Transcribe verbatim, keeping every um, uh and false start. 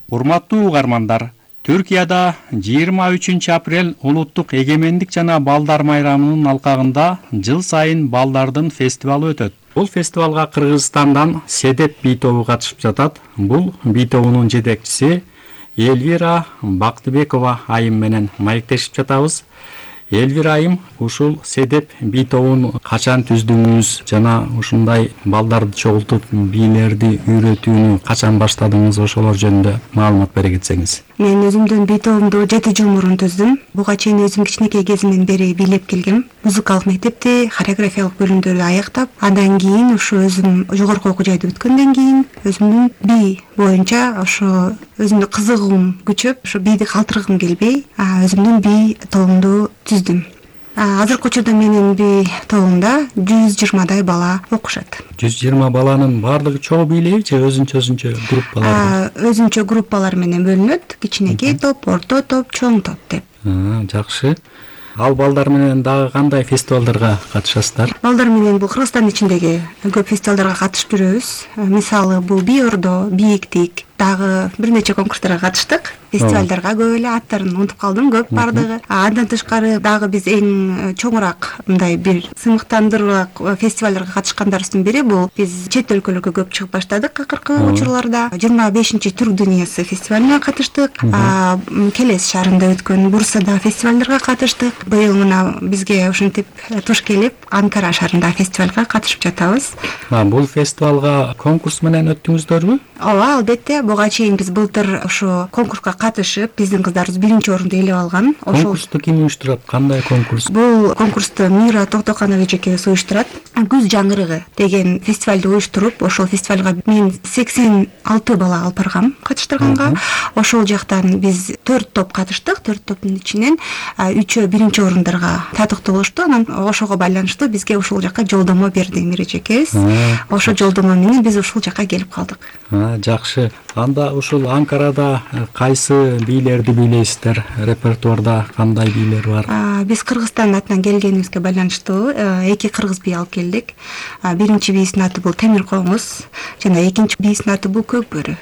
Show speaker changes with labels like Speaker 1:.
Speaker 1: Урматтуу угармандар, Түркияда жыйырма үчүнчү апрель улуттук эгемендик жана балдар майрамынын алкагында жыл сайын балдардын фестивалы өтөт. Бул фестивалга Кыргызстандан Седеп би тобу катышып жатат. Бул би тобунун жетекчиси Элвира Бактыбекова айым менен маектешип жатабыз. Элвира айым, ушул Седеп би тобун качан түздүңүз жана ушундай балдарды чогултуп бийлерди үйрөтүүнү качан баштадыңыз, ошолор жөнүндө маалымат бере кетсеңиз.
Speaker 2: Мен өзүмдүн би тобумду жети жыл мурун түздүм. Буга чейин өзүм кичинекей кезимден бери бийлеп келгем. Музыкалык мектепти, хореографиялык бөлүмдөрдү аяктап, андан кийин ушу өзүм жогорку окуу жайды бүткөндөн кийин өзүмдүн би боюнча ошо өзүмдүн кызыгуум күчөп, ошо бийди калтыргым келбей, өзүмдүн би тобумду түздүм. Азыркы учурда менин би тобумда жүз жыйырмадай бала окушат.
Speaker 1: жүз жыйырма баланын баардыгы чогуу бийлейби же өзүнчө өзүнчө группалар?
Speaker 2: Өзүнчө группалар менен бөлүнөт. Кичинекей топ, орто топ, чоң топ деп.
Speaker 1: Жакшы. Ал балдар менен дагы кандай фестивалдарга катышасыздар?
Speaker 2: Балдар менен бул Кыргызстан ичиндеги көп фестивалдарга катышып жүрөбүз. Мисалы, бул би ордо, бийиктик, дагы бир нече конкурстарга катыштык. Фестивалдарга көп эле аттарын унутуп калдым, көп бардыгы. Андан тышкары дагы биз эң чоңураак мындай бир сыймыктандыруураак фестивалдарга катышкандарыбыздын бири бул биз чет өлкөлөргө көп чыгып баштадык акыркы учурларда. жыйырма бешинчи Түрк дүйнөсү фестивалына катыштык. Келес шаарында өткөн Бурсада фестивалдарга катыштык. Быйыл мына бизге ушинтип туш келип, Анкара шаарында фестивалга катышып жатабыз.
Speaker 1: Бул фестивалга конкурс менен өттүңүздөрбү?
Speaker 2: Ооба, албетте. Буга чейин биз былтыр ошо конкурска катышып, биздин кыздарыбыз биринчи орунду ээлеп алган.
Speaker 1: Конкурсту ким уюштурат? Кандай конкурс?
Speaker 2: Бул конкурсту Мира Токтоканова эжекебиз уюштурат. Күз жаңырыгы деген фестивалды уюштуруп, ошол фестивалга мен сексен алты бала алып баргам катыштырганга. Ошол жактан биз төрт топ катыштык. төрт топтун ичинен үчөө биринчи орундарга татыктуу болушту. Анан ошого байланыштуу бизге ушул жакка жолдомо берди Мира эжекебиз. Ошол жолдомо менен биз ушул жакка келип калдык.
Speaker 1: Жакшы. Анда ушул Анкарада кайсы бийлерди бийлейсиздер? Репертуарда кандай бийлер бар?
Speaker 2: Биз Кыргызстан атынан келгенибизге байланыштуу эки кыргыз бий алып келдик. Биринчи бийибиздин аты бул Темир Коңуз жана экинчи бийибиздин аты бул Көк бөрү.